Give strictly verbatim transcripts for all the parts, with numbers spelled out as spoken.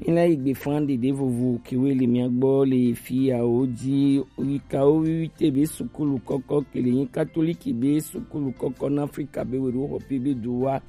Ela yi gbe fan ɖeɖe vovo kewe le mia gbɔ le fi yawo ji. Yikawo wiwi te be sukulu kɔkɔ ke le nyi katoliki be sukulu kɔkɔ na Afrika be weɖo xɔ pe be do wa.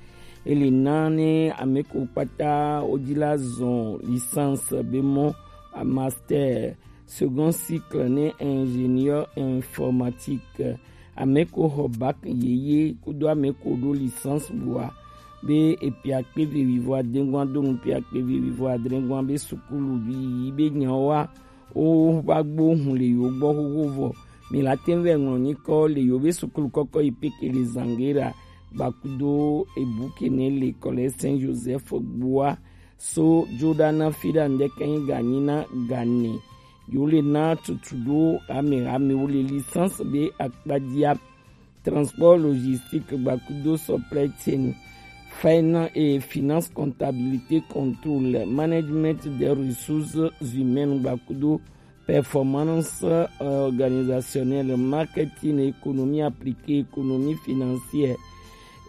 Ele na ne ame ko kpata woji la zɔn licence be mɔ, a master, second cycle ne ingénieur informatique. Ame ko xɔ bac yeye kudo ame ko ɖo licence bua be epia kpe ve wivɔ adengua do nu pia kpe ve wivɔ adrengua be sukulu bi yi be nyawo wa wo va gbo hun le yo gbɔ xoxo vɔ. Mi la te vɛ ŋlɔ nyikɔ le yo be sukulu kɔkɔ yi peke le Zangera gbakudo ebuke ne le kɔlɛ Saint Joseph gbua so jo ɖa na fi ɖa ŋdɛ kɛ nyi ganyi na gane. Yo le na tutu ɖo ame ame wo le licence be akpadia transport logistique gbakudo supply chain, finan-, et finance, comptabilité, contrôle, management des ressources humaines gbakudo performance organisationnelle, marketing, économie appliquée, économie financière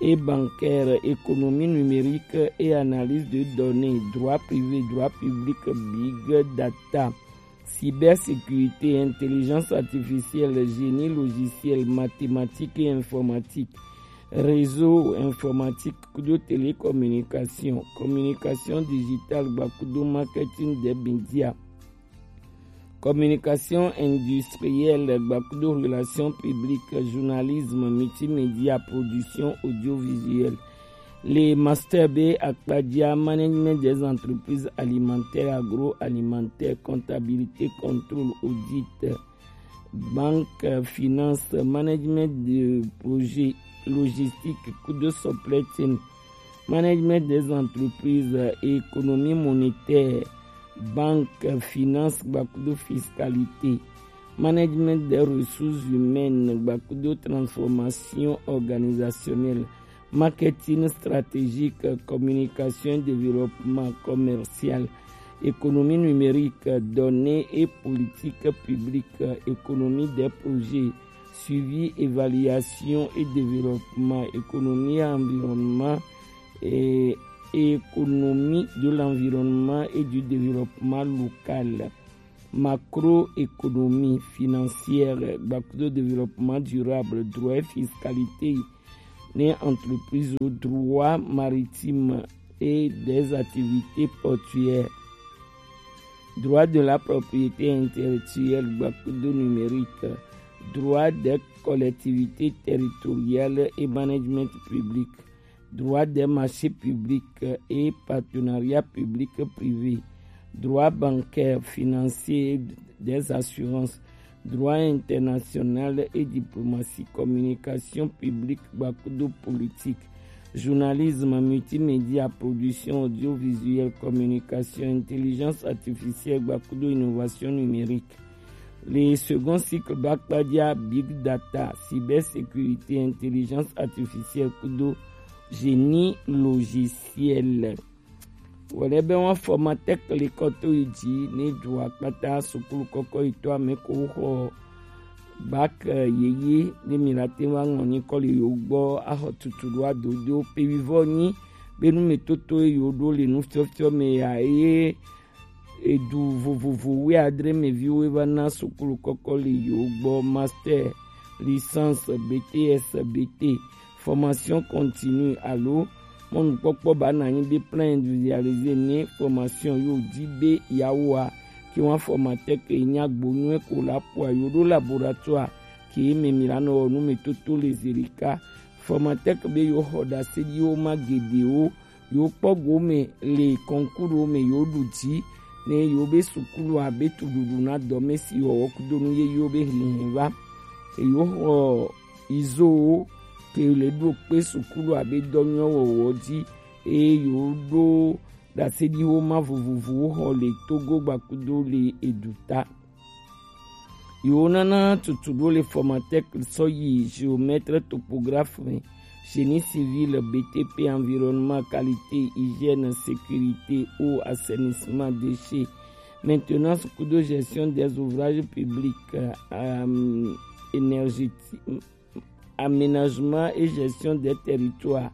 et bancaire, économie numérique et analyse de données, droit privé, droit public, big data, cybersécurité, intelligence artificielle, génie logiciel, mathématiques et informatique, réseau informatique, kudo télécommunication, communication digitale, gbakudo marketing des médias, communication industrielle, gbakudo relations publiques, journalisme, multimédia, production audiovisuelle. Le master be akpadia, management des entreprises alimentaires, agroalimentaires, comptabilité, contrôle, audit, banque, finance, management de projet, logistique, kudo supply chain, management des entreprises, économie monétaire, banque, finance, gbakudo fiscalité, management des ressources humaines, gbakudo transformation organisationnelle, marketing stratégique, communication et développement commercial, économie numérique, données et politique publique, économie des projets, suivi, évaluation et développement, économie et environnement, et économie de l'environnement et du développement local, macroéconomie financière, gbakudo développement durable, droit et fiscalité, ne entreprise, droit maritime et des activités portuaires, droit de la propriété intellectuelle, gbakudo numérique, droit des collectivités territoriales et management public, droit des marchés publics et partenariat public-privé, droit bancaire, financier, des assurances, droit international et diplomatie, communication publique, gbakudo politique, journalisme, multimédia, production audiovisuelle, communication, intelligence artificielle, gbakudo innovation numérique. Le second cycle bakpadia big data, cybersécurité, intelligence artificielle, kudo génie logiciel. Wòle be wọn formatec le kɔ to yi dzi ne dua kpata sukulu kɔkɔ yi to ame ko xɔ bac yeye ne mi la te va ŋlɔ nyikɔ le yo gbɔ axɔ tutu ɖo adodo pe wivɔ nyi be nu me toto ye yo ɖo le nufiɔfiɔ me ya eye edu vovovo wuiadre me viwo va na sukulu kɔkɔ le yo gbɔ, master, licence, B T S, B T, formation continue alo mɔnukpɔkpɔ ba na nyi be plan individualisé ne formation yo di be yawoa ke wan formatec nya gbonyuɛ ko la po a yo ɖo laboratoire ke me mi la nɔ wɔ nu me toto le zelika. Formatec be yo xɔ ɖaseɖiwo ma geɖewo yo kpɔ gome le concours me yo ɖu dzi ne yo be sukulu abe tuɖuɖu na dɔmesi wɔwɔ kudo nu yeyewo be hihi va. Eyo xɔ izowo ke le ɖo kpe sukulu abe dɔnyɔ wɔwɔ dzi eye yo ɖo ɖaseɖiwo ma vovovowo xɔ le Togo gbakudo le eduta. Yo nana tutu ɖo le formatec sɔ yi géomètre topographe me, génie civil, B T P, environnement, qualité, hygiène, sécurité, eau, assainissement, déchets, maintenance kudo gestion des ouvrages publics, euh, énergétique, aménagement et gestion des territoires,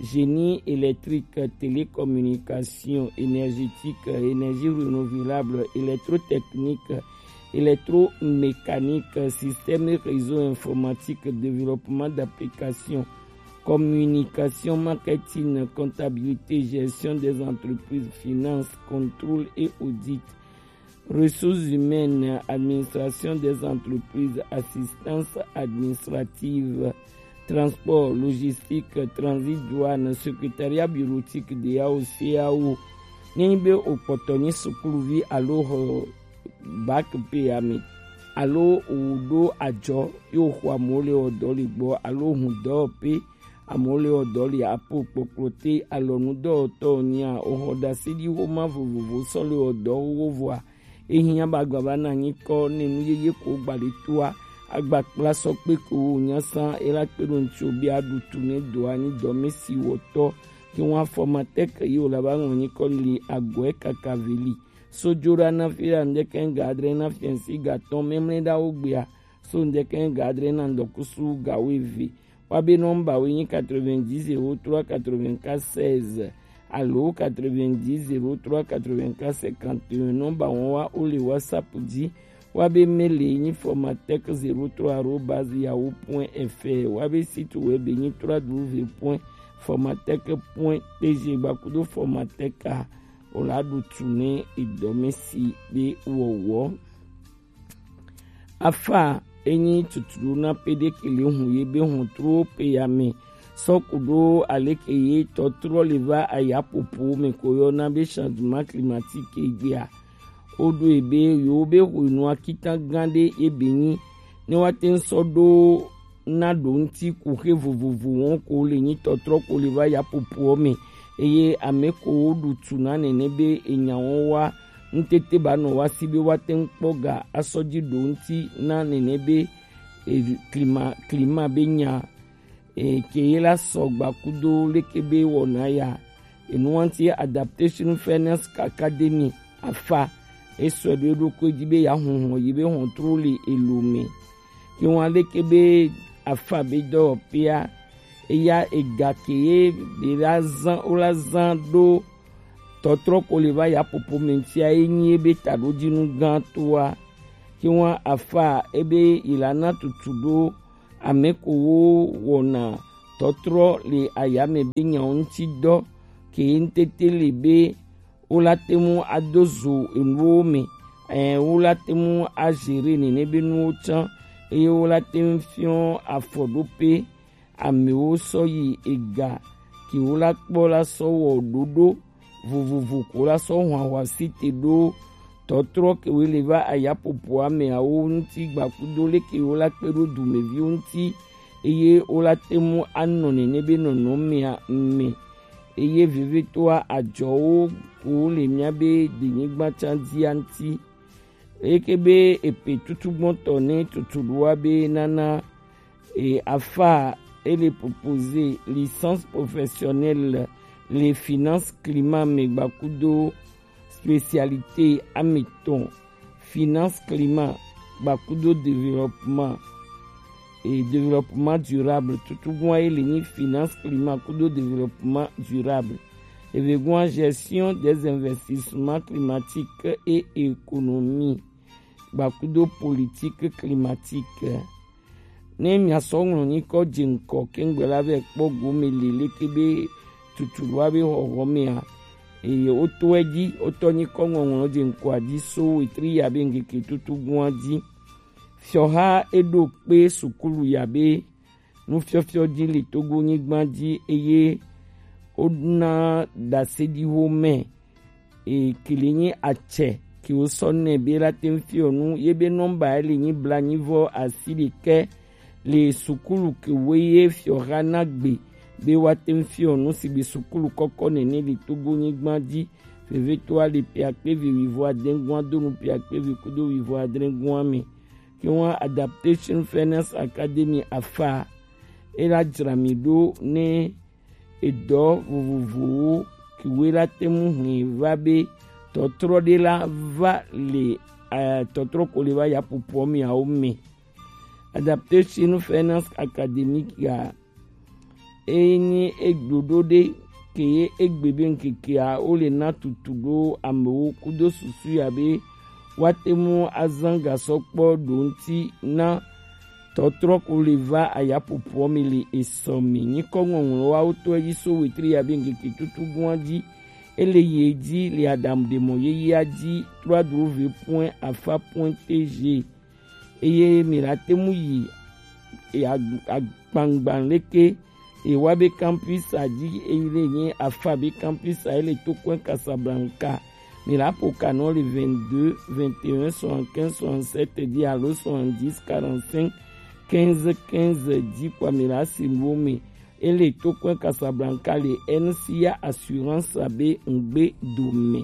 génie électrique, télécommunication, énergétique, énergie renouvelable, électrotechnique, électromécanique, système et réseau informatique, développement d'applications, communication, marketing, comptabilité, gestion des entreprises, finance, contrôle et audit, ressources humaines, administration des entreprises, assistance administrative, transport, logistique, transit, douane, secrétariat bureautique de A O C A O. Nenyi be o kpɔtɔ nyi sukuluvi alo xɔ bac pe ame alo o ɖo ajɔ yo xɔ amewo le wɔ dɔ le gbɔ alo hun dɔ pe amewo le wɔ dɔ le apo kpokplo te alɔnu dɔwɔtɔ nya o xɔ ɖase ɖi xoma vovovo sɔ le wɔ dɔ xoxo vɔa ehiã ba gba ba na nyikɔ ne nu yeye ko gba le toa agba kpla sɔ kpe ko wo nya san e la kpe ɖo ŋtsi o be a ɖu tu ne do anyi dɔ me si wɔtɔ ke ŋu afɔmatɛk yi o la ba ŋlɔ nyikɔ li agɔe kaka veli. Sojoɖa na fi la ŋdɛkɛ ga adre na fiɛnsi ga tɔn mɛmlɛ ɖa wo gbea so ŋdɛkɛ ga adre na ŋdɔkusu ga wo eve. Wa be nɔmba wo nyi quatre-vingt-dix zéro trois quatre-vingt-quatre seize alo quatre-vingt-dix zéro trois quatre-vingt-quatre cinquante et un. Nɔmba wɔn wa o le WhatsApp ji. Wa be mail nyi formatec zéro trois arobase yahoo point F R. Wa be site web nyi trois w point formatec point T G gbakudo formatec a o la ɖu tu ne edɔmesi be wɔwɔ. Afa enyi tuturu na pe ɖe ke le hun ye be hun tro pe ya me sɔ ku ɖo aleke ye tɔtrɔ le va aya popo me ko yɔ na be changement climatique egbea. O ɖo ebe yo be hwenu akitan gan ɖe ebe nyi ne wa te ŋ sɔ ɖo na ɖo ŋti kuxe vovovo wɔn ko le nyi tɔtrɔ ko le va ya popoɔ me eye ame ko wo ɖu tu na nene be enya wɔn wa ŋtete ba nɔ wa si be wa te ŋ kpɔ ga asɔ ji ɖo ŋti na nene be e, klima klima be nya e, ke ye la sɔ gba kudo leke be wɔna ya. Enuwanti Adaptation Finance Academy afa esɔ ɖo eɖokui ji be ya hɔn hɔn yi be hɔn tro le elo me. Ke wan leke be afa be dɔwɔƒea eya ega ke ye be la zan wo la zan ɖo tɔtrɔ ko le va ya popo me ŋtia ye nyi ebe taɖodzinu gãtɔa. Ke wan afa ebe yi la na tutu ɖo ame ko wo wɔna tɔtrɔ le ayame be nyawo ŋuti dɔ ke ŋtete le be wo la te ŋu ado zo enuwo me ɛ wo la te ŋu azere nene be nuwo tsã eye wo la te ŋu fiɔ afɔɖoƒe amewo sɔ yi ega ke wo la kpɔ la sɔ wɔ ɖoɖo vovovo ko la sɔ hɔn ahwasi te ɖo tɔtrɔ ke wo le va ayapopo ameawo ŋuti gbakudo leke wo la kpe ɖo dumeviwo ŋuti eye wo la te ŋu anɔ nene be nɔnɔmea me eye vevitɔa adzɔwo ko le mía be denyigba tsã dzia ŋuti. Eke be epe tutugbɔtɔ ne tutuɖoa be nana e afa ele proposer licence professionnelle le finance climat me gbakudo spécialité ametɔn finance climat gbakudo développement et développement durable. Tutugbɔa ele nyi finance climat kudo développement durable. Evegbɔa gestion des investissements climatiques et économie gbakudo politique climatique. Ne mia sɔ ŋlɔ nyikɔ dze ŋkɔ kengbe la vɛ kpɔ gome le leke be tutu wa be xɔxɔ mea eye wotɔe dzi wotɔ nyikɔ ŋɔŋlɔ dze ŋkɔa dzi so wetri ya be ŋkeke tutugbɔa dzi. Fiɔha eɖo kpe sukulu ya be nufiɔfiɔ dzi le Togo nyigba dzi eye wona ɖaseɖiwo me e, ke le nyi atsɛ ke wosɔ nɛ be la te ŋu fiɔ nu ye be nɔmba ye le nyi blanyi vɔ asi ɖekɛ le sukulu ke wo ye fiɔha na gbe be wa te ŋu fiɔ nu si be sukulu kɔkɔ nene le Togo nyigba dzi. Vevitɔa le piakpe vi wivɔ adengua do nu piakpe vi kudo wivɔ adrengua me. Ke wa Adaptation Fairness Academy afa e la dzra mi ɖo ne edɔ vovovowo ke wo la te ŋu hlẽ va be tɔtrɔ ɖe la va le eh, tɔtrɔ ko le va yaƒoƒoa meawo me. Adaptation Finance Academy ya Enyi egblɔ ɖo ɖe ke ye egbe be ŋkeke a wo le na tutu ɖo amewo kudo susu ya be woate ŋu azã gasɔ kpɔ ɖo ŋuti na tɔtrɔ ko le va ayaƒoƒoɔ me le esɔ me. Nyikɔ ŋɔŋlɔ wa wotɔ edzi so wetri ya be ŋkeke tutu gua dzi. Ele yi edzi le adamu ɖe mɔ yeyea dzi trois w v point afa point t g. Eye mi la te ŋu yi ag- agbangban leke ewa be campus a dzi eye le nye afa be campus a ele to kɔe Casablanca. Mi la ƒo ka nɔ le vingt-deux, vingt et un, soixante-quinze, soixante-sept dzi alo soixante-dix, quarante-cinq, quinze, quinze dzi kpɔ mi la si nuwo me. Ele to kɔe Casablanca le N C A Assurance be ŋgbe dome.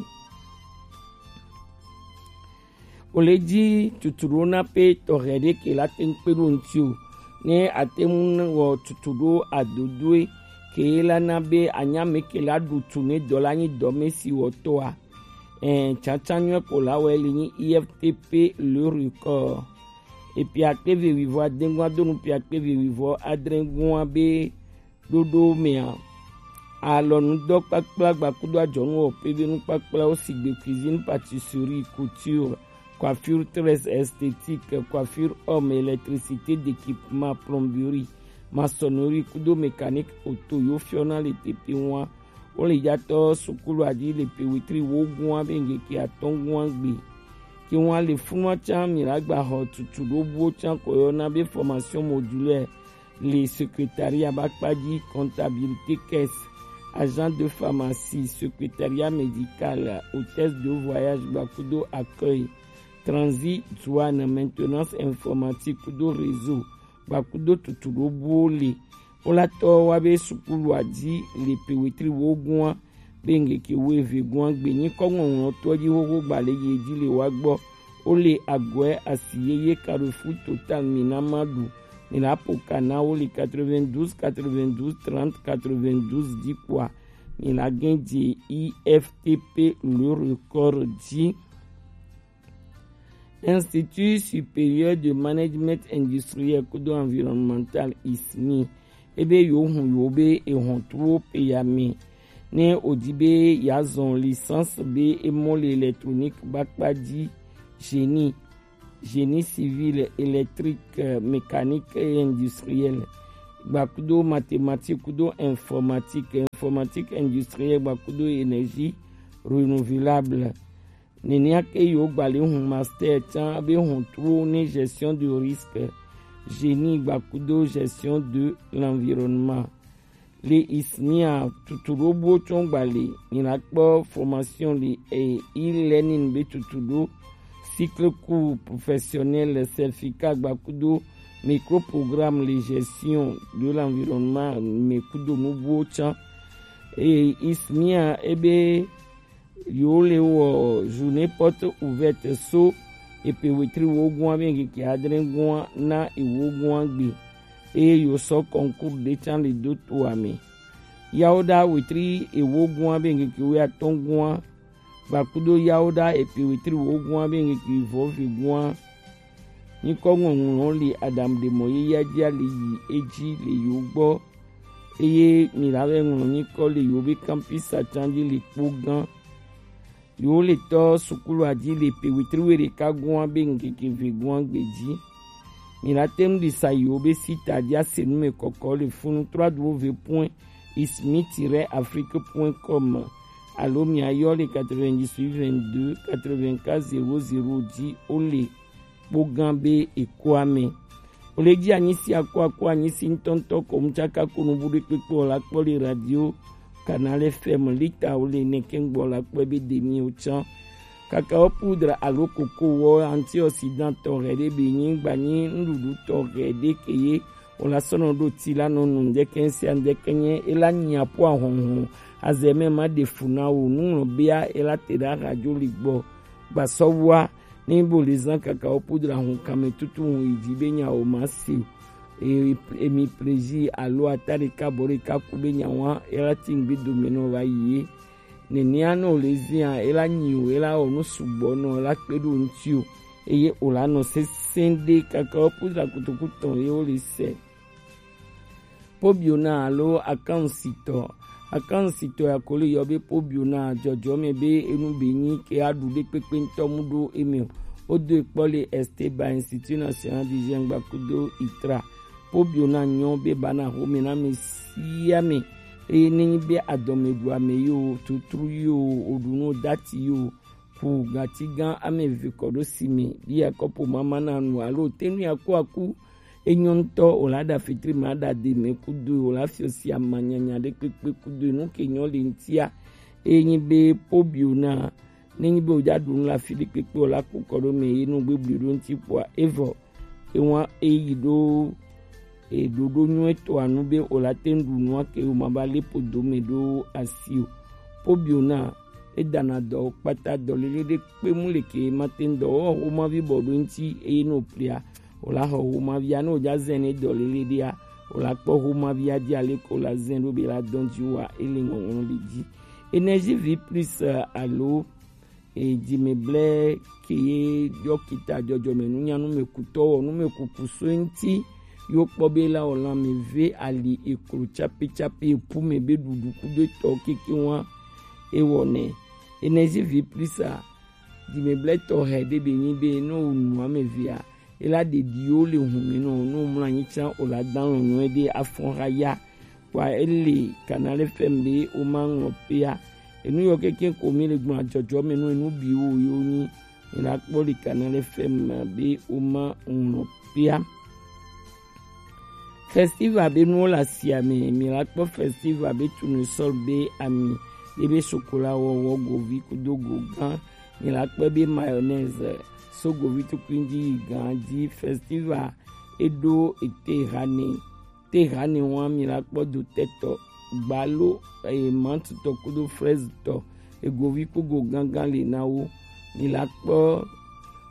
Wole dzi tutuɖo na pe tɔxɛ ɖe ke la te ŋu kpe ɖo ŋuti o. Ne ate ŋu wɔ tutuɖo adodoe ke la na be anyame ke la ɖu tu ne dɔ la nyi dɔme si wɔtɔa. Ɛɛ, tsatsa nyuie ko la wɔ li nyi I F T P le record. Epi akpe ve wivɔ adengua donu pi akpe ve wivɔ adrengua be ɖoɖo mea, alɔnudɔkpakpla gbakudo adzɔnuwɔƒe be nukpakplawo sigbe cuisine, pâtisserie, couture, coiffure, tresse, esthétique, coiffure homme, électricité, d'équipement, plomberie, maçonnerie kudo mécanique auto yo fiɔna le teƒe ŋua. Wole yatɔ sukulu adi le pe wetri wo gua be ŋkeke atɔ̃ gua gbe. Ke ŋua le funua tsã mi la gba xɔ tutu ɖo buwo tsã ko yɔna be formation modulaire le secrétariat bakpadzi, comptabilité, caisse, agent de pharmacie, secrétariat médical, hôtesse de voyage gbakudo accueil, transit, douane, maintenance informatique kudo réseau gbakudo tutu ɖo buwo le. Wola tɔ wa be sukulu adi le pe wetri wo gua be ŋkeke wuieve gua gbe nyikɔ ŋɔŋlɔtɔ dzi xoxo gba le yi dzi le wa gbɔ. Wole agɔe asi yeye Carrefour Total mi na ma ɖu. Mi la ƒo ka na wo le quatre-vingt-douze, quatre-vingt-douze, trente, quatre-vingt-douze dzi kpɔa, mi la gɛn dze I F T P le record dzi. Institut Supérieur de Management Industriel kudo Environnemental, I S M I, ebe yo hun yo be ehɔn tuwo pe ya me. Ne odi be ya zɔn licence be emɔ le électronique bakpadzi, génie, génie civil, électrique, euh, mécanique et industriel, gbakudo mathématique kudo informatique, informatique industrielle gbakudo énergie renouvelable. Nenea ke yo gba le hun master tsã be hun tuwo ne gestion de risque, génie gbakudo gestion de l'environnement. Le I S M I a tutu ɖo buwo tsɔ gba le, mi la kpɔ formation le e e-learning be tutu ɖo, cycle court professionnel, certificat gbakudo microprogramme le gestion de l'environnement me kudo nu buwo tsã. E I S M I a ebe yo le wɔ journée porte ouverte so epe wetri wo gua be ŋkeke adre gua na ewo gua gbe. Eye yo sɔ concours ɖe tsã le do to ame. Yawo ɖa wetri ewo gua be ŋkeke wuiatɔ̃ gua gbakudo yawo ɖa epe wetri wo gua be ŋkeke vɔ ve gua. Nyikɔ ŋɔŋlɔ le Adam ɖe mɔ ye ya dzia le yi edzi le yo gbɔ. Eye mi la vɛ ŋlɔ nyikɔ le yo be campus atsan dzi le kpo gã. Yo le tɔ sukulu adzi le pe wetri we ɖeka gua be ŋkeke ve gua gbe dzi. Mi la te ŋu ɖi sa yo be sita dzi ase nu me kɔkɔ le funu trois w point ismi tiret afrique point com alo mi ayɔ le quatre-vingt-dix-huit vingt-deux quatre-vingt-quatre zéro zéro dzi wo le kpo gã be ekoa me. Wole dzi anyi si akɔ akɔ anyi si ŋutɔŋutɔ ko mu tsaka ko nu bu ɖe kpekpe o la kpɔ le radio Canal F M lita wole ne ke ŋgbɔ la kpɔ be ɖe mi o tsã. Kakao poudre alo koko wɔ antioxydant tɔxɛ ɖe be nyi gba nyi nuɖuɖu tɔxɛ ɖe ke ye o la sɔnɔ ɖo ti la nɔ nu ŋdɛkɛ sia ŋdɛkɛ nye e la nya po ahɔnhɔn azɛ mɛ ma ɖe fu na wo nuŋlɔ bea e la te ɖe ahadzo li gbɔ gbasɔwua. Ne bo le zã kakao poudre ahun kame tutu hun yi dzi be nya o ma se o. E, emi plaisir alo ata ɖeka bɔ ɖeka ku be nya wa e la ti ŋgbe dome nɔ va yi ye. Nenea ne wòle zia, e la nyi o, e la wɔ nu sugbɔ nɔ, e la kpe ɖo ŋuti o, eye wòla nɔ sesẽ ɖe kakao poudre kotoku tɔn ye wole sɛ. Pobiona alo akansitɔ. Akansitɔ ya ko le yɔ be pobiona jɔjɔmɛ be enu be nyi ke aɖu ɖe kpekpe ŋutɔ mu ɖo eme o. Wodo ekpɔ le Esteban Institut National du Jeune gbakudo itra. Pobiona nyɔ be bana xome na ame sia ame. Eye nenyi be adɔmeɖu ame yi o, tutru yi o, oɖu nu dati yi o, ku gati gã ame eve kɔ ɖo si me, bi akɔpo mama na nu alo te nu ya ku aku. Enyɔ ŋutɔ o la ɖa fitri ma ɖa de me kudo o la fiɔ si amanyanya ɖe kpekpe kudo nu ke nyɔ le ŋtia. Eye nyi be pobiona, nenyi be o ja ɖu nu le afi ɖe kpekpe o la ku kɔ ɖo me ye nu gbegbe ɖo ŋti kpoa evɔ ke wa eyi ɖo e ɖoɖo nyuie tɔ anu be o la te ŋu ɖu nua ke o ma va le podo me ɖo asi o. Pobiona e dana dɔ kpata dɔlele ɖe kpe mu le ke ma te ŋu dɔ wɔ xomavi bɔ ɖo ŋti eye no plia o la xɔ xomavi a no ja zɛn ne dɔlele ɖe a o la kpɔ xomavi a di ale ko la zɛn ɖo be la dɔn ji wa ele ŋɔŋlɔ le ji. Énergie vie plus alo e, dzimeblɛ ke ye dɔkita jɔjɔme nunya numekutɔ wɔ numekuku so ŋti yo kpɔ be la wɔ lan me ve ali eklo tsapi tsapi epu me be ɖuɖu kudo etɔ keke wa ewɔ nɛ. Énergie vie plus a, dzimeblɛ tɔ hɛ ɖe be nyi be no nu ame vea ela ɖeɖiwo le hun me nɔ no mlɔ anyi tsã o la dan lɔnyɔ ɖe afɔ ha ya. Kpa ele Canal F M be o ma ŋlɔ pea. Enu yɔ keke ko mi le gbɔn ajɔjɔ me nu enu bi wo yo nyi. Mi la kpɔ le Canal F M be o ma ŋlɔ pea. Festival be nuwo le asia me, mi la kpɔ festival be tournesol be ami, ye be sokola wɔwɔ govi kudo go gã, mi la kpɔ be mayonnaise so govi tukui ji yi gã ji. Festival e ɖo ete ha ne. Te hane wa mi la kpɔ dotɛtɔ, gbalo, eye mantutɔ kudo frɛzitɔ, egovi kugo gangan le na wo. Mi la kpɔ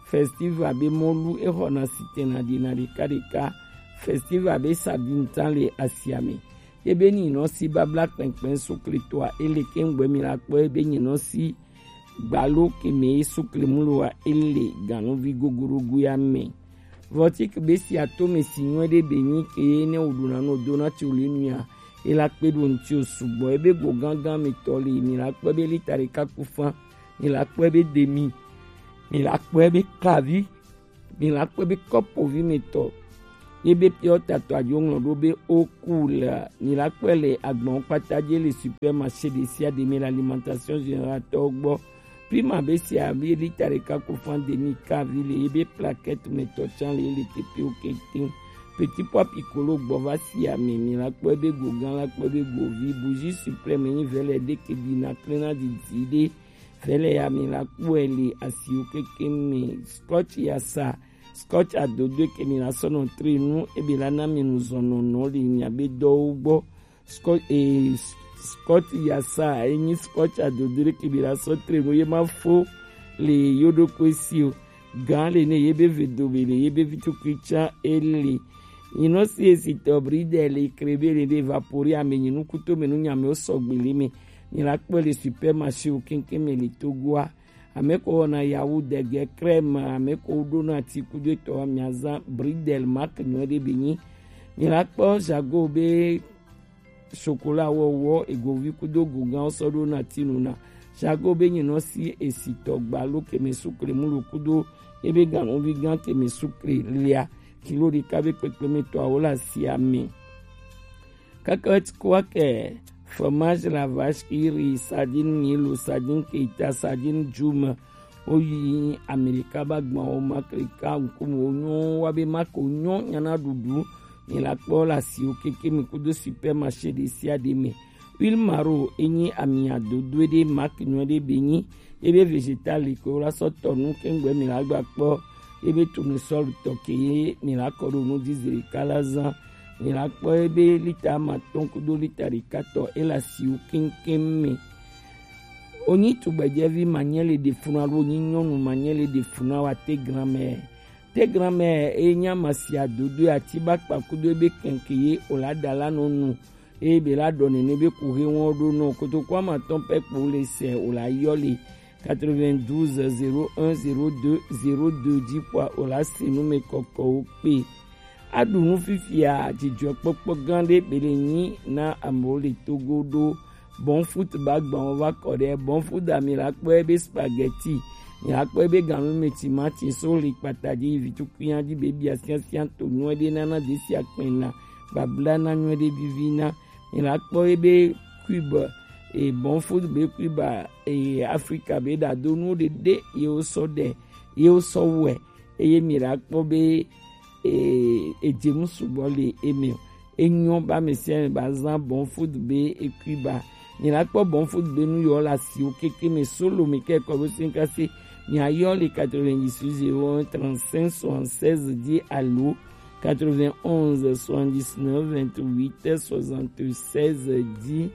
festival be mɔlu exɔna sitɛna ɖina ɖeka ɖeka. Festival be sabintan le asiame. Ebe nyinɔ si babla kpɛnkpɛn sukletɔa ele kɛngbɛ mi la kpɔ ebe nyinɔ si gbalo ke me ye sukle muloa ele ganuvi gogorogo ya me. Vɔtik be si ato me si nyuie ɖe be nyi ke ye ne wo ɖuna no dona ti wo le nuya. E la kpe ɖo ŋti o sugbɔ ebe go gangan me tɔ le mi la kpɔ be lita ɖeka ku fan, mi la kpɔ be demi, mi la kpɔ be kavi, mi la kpɔ be kɔpovi me tɔ. Ye be piɔ tatɔ adzo ŋlɔ ɖo be o ku le mi la kpɔ le agbɔn kpata dze le supermarché ɖe sia ɖe me le alimentation générale tɔ gbɔ. Prima be sia be lita ɖeka ku fan demi kavi le ye be plaquette me tɔ tsan le ye le teƒewo keŋkeŋ. Petit pois piccolo gbɔ va si ame mi la kpɔ be go gã la kpɔ be govi bougie suprême nyi vɛlɛ ɖe ke ɖina klena didi ɖe. Vɛlɛ ya mi la kpɔe le asiwo keŋkeŋ me. Scotch yasa, scotch adodoe ke mi la sɔ nɔ tre nu ebe la na mi nu zɔn nɔnɔ le nya be dɔwo gbɔ. Scotch, eh, scotch yasa enyi scotch adodo ɖe ke mi la sɔ tre nu ye ma fo le yo ɖokui si o. Gã le ne ye be ve do be le ye be vi tukui tsa ele. Nyinɔ si esi tɔ bridel le krebe le de vapori ame nyinu kuto me nu nyame o sɔgbe le me. Mi la kpɔ le supermarché o keŋkeŋ me le Togoa. Ame ko wɔna yawu dege crème, ame ko ɖona ti kudo etɔ mi azã bridel marque nyuie ɖe be nyi. Mi la kpɔ jago be chocolat wɔwɔ egovi kudo gogã sɔ ɖo na tinu na. Jago be nyinɔ si esi tɔ gbalo keme sukle mulo kudo ebe ganuvi gã keme sukle lia kilo ɖeka be kpekpe me tɔawo le asia me. Kaka ti kɔ ke fromage la vache qui rit, sardine milo, sardine keita, sardine djuma, Woyi Amerika ba gbɔn wo ma klika ŋkume wo nyɔ wa be ma ko nyɔ nyana ɖuɖu. Mi la kpɔ le asiwo keke mi kudo supermarché ɖe sia ɖe me. Huile maro enyi ami adodoe ɖe marque nyuie ɖe be nyi. Ebe vegetal ko la sɔ tɔ nu kengbe mi la gba kpɔ. Ebe tournesol tɔ ke ye mi la kɔ ɖo nu dzi zeli kala zan. Mi la kpɔ ebe lita amatɔn kudo lita ɖeka tɔ ele asiwo keŋkeŋ me. Onyi tugbedzɛvi manyɛ le ɖe funu alo onyi nyɔnu manyɛ le ɖe funu awa te grand-mère. Te grand-mère e nya masia dodo ati ba kpa kudo ebe kɛnkɛ ye o la da la nɔ nu. Eye be la ɖɔ nene be kuhe wɔn ɖo nɔ kotoku amatɔn pɛ kpo le sɛ o la yɔ le quatre-vingt-douze zéro un zéro deux zéro deux dzi kpɔa o la se nu me kɔkɔwo kpe. Aɖu nu fifia, dzidzɔkpɔkpɔ gã ɖe be le nyi na amewo le Togo ɖo. Bon Food ba gbɔn va kɔ ɖe. Bon Food, ami la kpɔ ebe spaghetti, mi la kpɔ ebe ganu me timati so le kpata dzi, vi tukui ya dzi be bia siasia to nyuie ɖe nana desi akpɛna babla na nyuie ɖe vivi na. Mi la kpɔ ebe cube, e Bon Food be cube, e Africa be ɖa do nu ɖe ɖe ye wo sɔ ɖe ye wo sɔ wɛ eye mi la kpɔ be e edze nu sugbɔ le eme o. Enyo ba me sia me ba zan Bon Food be ekui ba. Mi la kpɔ Bon Food be nu yɔ la si o keke me solo mi ke kɔ be sin kase. Mi ayɔ le quatre-vingt-dix-huit zéro un trente-cinq soixante-seize dzi alo quatre-vingt-onze soixante-dix-neuf vingt-huit soixante-seize dzi.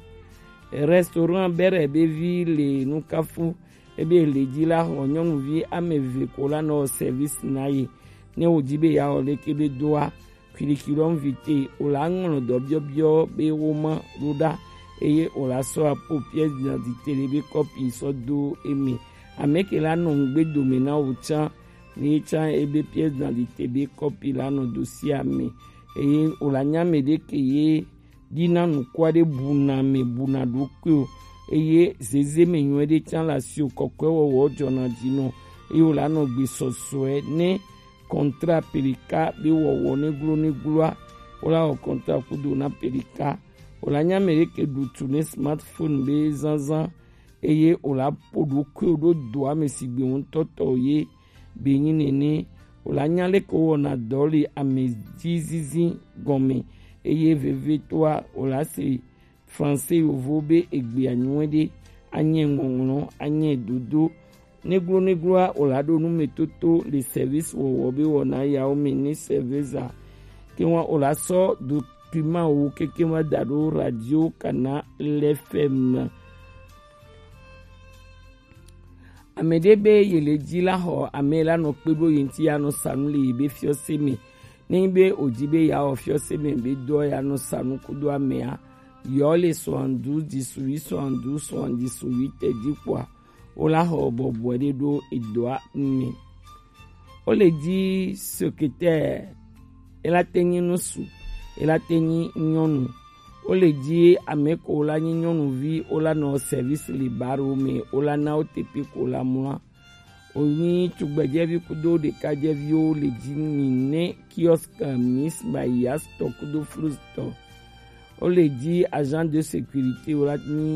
Restaurant Bere be vi le Nukafu. Ebe le dzi la xɔ nyɔnuvi ame eve ko la nɔ service na ye. Ne wòdi be yeawɔ leke be doa, curriculum vitae, wòla ŋlɔ dɔ biɔbiɔ be woma ɖo ɖa, eye wòla sɔ apo pièce d'identité le be kɔpi sɔ do eme. Ame ke la nɔ ŋgbe dome na wò tsã, ne ye tsã ebe pièce d'identité be kɔpi la nɔ dossier me, eye wòla nya ame ɖe ke ye ɖi na nukua ɖe buna me buna ɖokui o, eye zeze me nyuie ɖe tsã le asi o, kɔkɔe wɔwɔ dzɔna dzi nɔ, eye wòla nɔ gbe sɔsɔe ne kɔntra pelika be wɔwɔ ne glo ne gloa, wòla wɔ kɔntra kudo na pelika, wòla nya ame ɖe ke ɖu tu ne smartphone be zazã, eye wòla ƒo ɖokuiwò ɖo doa me sigbe ŋutɔtɔ ye be nyi nene. Wòla nya leke wowɔna dɔ le ame dzi zizi gɔme, eye vevitɔa wòla se français yovo be egbea nyuie ɖe, anye ŋɔŋlɔ, anye dodo. Neglo negloa wòla ɖo nu me toto le service wɔwɔ be wɔna yawo me ne serveza. Ke wa wòla sɔ document wo keke wa da ɖo radio kana lefem. Ame ɖe be ye le dzi la xɔ ame la nɔ kpe ɖo ye ŋuti ya nɔ sa nu le ye be fiɔse me. Ne nyi be wòdi be yeawɔ fiɔse me be dɔ ya nɔ sa nu kudo amea, yɔ le soixante-douze dix-huit soixante-douze soixante-dix-huit dzi kpɔa, wola xɔ bɔbɔe ɖe ɖo edɔa me. Wole dzi secrétaire, ela te nyi ŋutsu, ela te nyi nyɔnu. Wole dzi ame ko la nyi nyɔnuvi, wola nɔ service le baro me, wola na wo tepe ko la mlɔa. Wonyi tugbedzɛvi kudo ɖekadzɛviwo le dzi nyi ne kiosque Miss Bayas tɔ kudo Flus tɔ. Wole dzi agent de sécurité, wola nyi